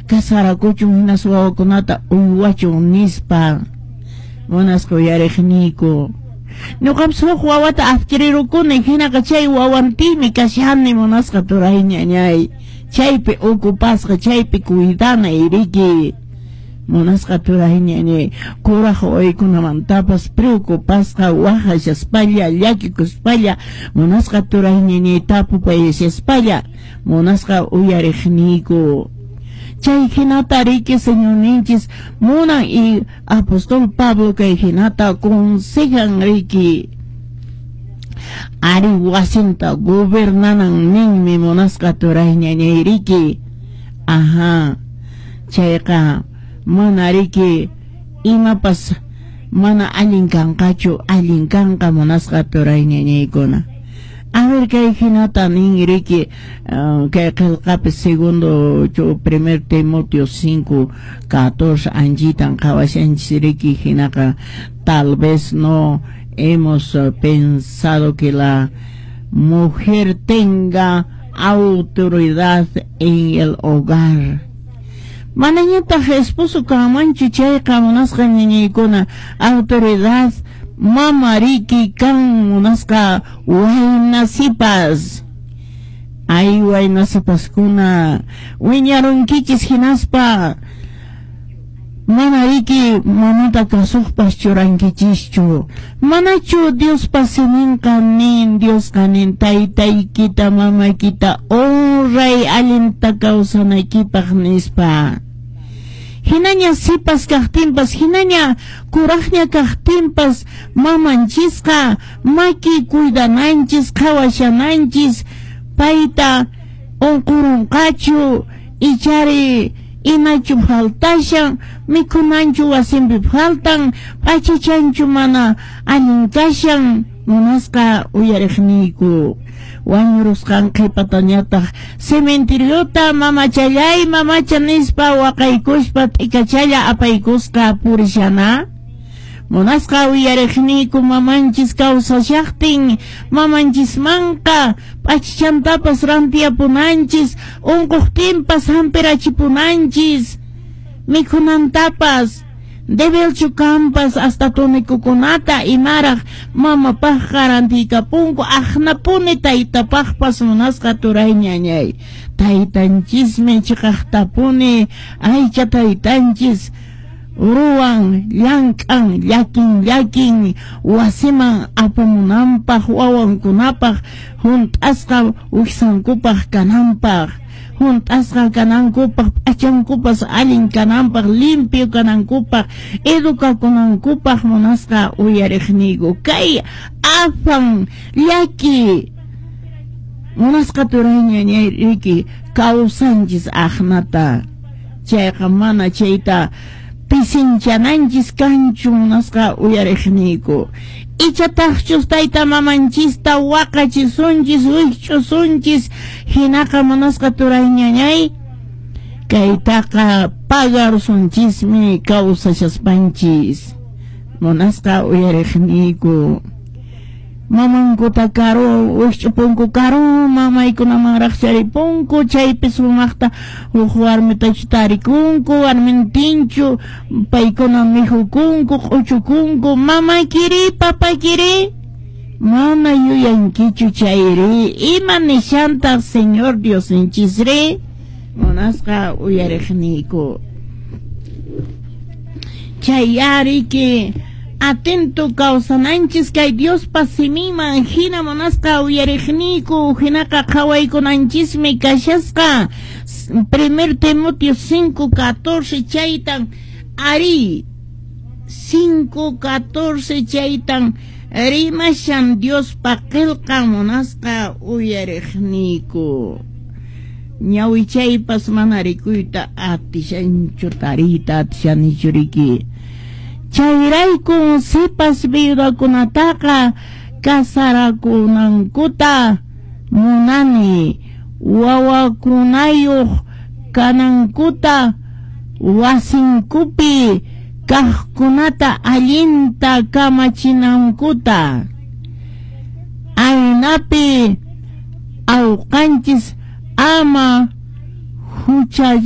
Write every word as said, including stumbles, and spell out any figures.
Kasarakuchun hinas wawakunata uywachun nispa. Munasqa uyariqniyku, ñuqapas huk wawata adquirirukuni, hinaqa chay wawantiymi kashani, munasqa turay ñañay, chaypi ocupasqa, chaypi cuidanay riki. Munasqa turay ñañay, kuraq wawaykunamantapas preocupasqa, waqashaspalla, llakikuspalla, munasqa turay ñañay, tapupayashaspalla, munasqa uyariqniyku. Chay hinata riki Señorninchis munan y apóstol Pablo kay hinata aconsejan riki. Ari wasinta gobernanan ninmi, munasqa turay ñañay riki. Ajá, chayqa mana riki imapas mana allin kanqachu, allin kanqa, munasqa turay ñañaykuna. A ver, kay hinata nin riki uh, kay qillqapi segundo primer Timoteo cinco catorce anchitan qhawashanchis riki. Hinaqa tal vez no hemos pensado que la mujer tenga autoridad en el hogar. Manañataq esposo kanmanchu chayqa, munasqa ñañaykuna, autoridad mama riki kan, munasqa wayna sipas. Ay, wayna sipaskuna, wiñarunkichis hinaspa mana riki mamata kasuqpas churankichischu. Manachu Diospa siminqa nin, Diosqa nin taytaykita mamaykita honray allinta kawsanaykipaq nispa? Hinaña sipas kaqtinpas, hinaña kuraqña kaqtinpas, mamanchisqa maki cuidananchis, qhawashananchis payta, unqurunqachu ichari imachu faltashan, mikhunanchu wasinpi faltan, p'achachanchu mana allin kashan. Munasqa uyariqniyku, wañurusqan qhipatañataq cementeriota mamachallay mamacha nispa waqaykuspa t'ikachalla apaykusqa purishana. Munasqa uyariqniyku, mamanchis kawsashaqtin mamanchismanqa p'achachantapas rantiyapunanchis, unquqtinpas hampirachipunanchis, mikhunantapas debilchu kanpas hasta tonikukunata imaraq mamapaqqa rantiykapunku, aqnapuni taytapaqpas. Munasqa turay ñañay, taytanchismi chiqaqtapuni aycha taytanchis ruwan, llank'an, llakin llakin wasiman apamunanpaq, wawankunapaq hunt'asqa wiksankupaq kananpaq, hunt'asqa kanankupaq, p'achankupas allin kananpaq, limpio kanankupaq, educakunankupaq. Munasqa uyariqniyku, kay afan llaki, munasqa turay ñañay riki kawsanchis aqnata. Chayqa mana chayta pisinchananchis kanchu, munasqa uyariqniyku. Ichataqchus tayta mamanchista waqachisunchis, wikch'usunchis, hinaqa munasqa turay ñañay, kaytaqa pagarusunchismi kawsashaspanchis. Munasqa uyariqniyku, mamankuta karu wikch'upunku, karu mamaykunamanraq charipunku, chaypi sumaqta huk warmitachu tarikunku, warmintinchu paykuna mikhukunku, q'uchukunku. Mamaykiri, papaykiri mana yuyankichu chayri ima nishantaq Señor Diosninchisri? Munasqa uyariqniyku, chay ariki atento kawsananchis kay Diospa siminman hina. Munasqa uyariqniyku, hinaqa qhawaykunanchismi kashasqa primer Timoteo cinco catorce chaytan ari cinco catorce chaytan rimashan Diospa qillqan, munasqa uyariqniyku. Ñawichaypas mana rikuyta atishanchu, tariyta atishanichu riki. Chayraykun sipas viudakunataqa kasarakunankuta munani, wawakunayuq kanankuta, wasinkupi kaqkunata allinta kamachinankuta, aynapi awqanchis ama hucha